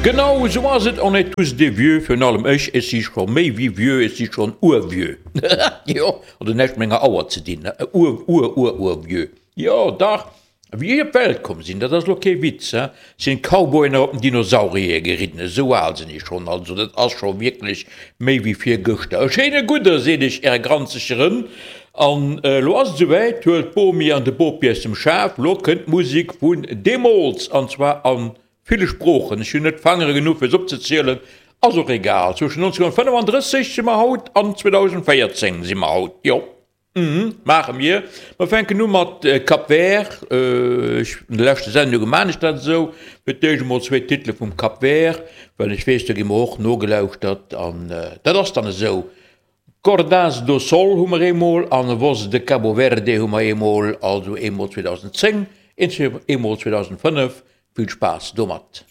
Genau esou ass et, on est tous des vieux, virun allem ech, ech si scho méi wéi vieux, ech si schonn urvieux. Jo, hat och näischt mat menger Auer ze dinn, ur-ur-ur-ur-vieux. Jo, dach, Wéi ech op d'Welt komm sinn, dat ass elo kee Witz, he, sinn d'Cowboyen nach op den Dinosaurier geridden, esou al sinn ech schonn, also dat ass scho wierklech méi wéi virgëschter. E schéine Gudde seet ech äre granzege Rënn, an elo ass et esouwäit, huelt d'Bomi an de Bopi aus dem Schaf, lo kënnt d'Musek vun deemools, an zwar a ville Sproochen, ech hunn net d'Fangere genuch fir se opzezielen, ass och egal, zwëschen 1935 si mer haut an 2014 si mer haut, jo. Mhm, maache mir. Mer fänken u mat Cap Vert. Ech, an de leschte Sendunge maan ech dat esou. Fir d'éischt emol zwéi Titele vum Cap Vert, well ech weess, do gi mer och nogelauschtert an dat ass dann esou. Cordas do Sol hu mer eemol an Voz de Cabo Verde hu mer eemol, also eemol 2010, eemol 2005. Vill Spaass domat.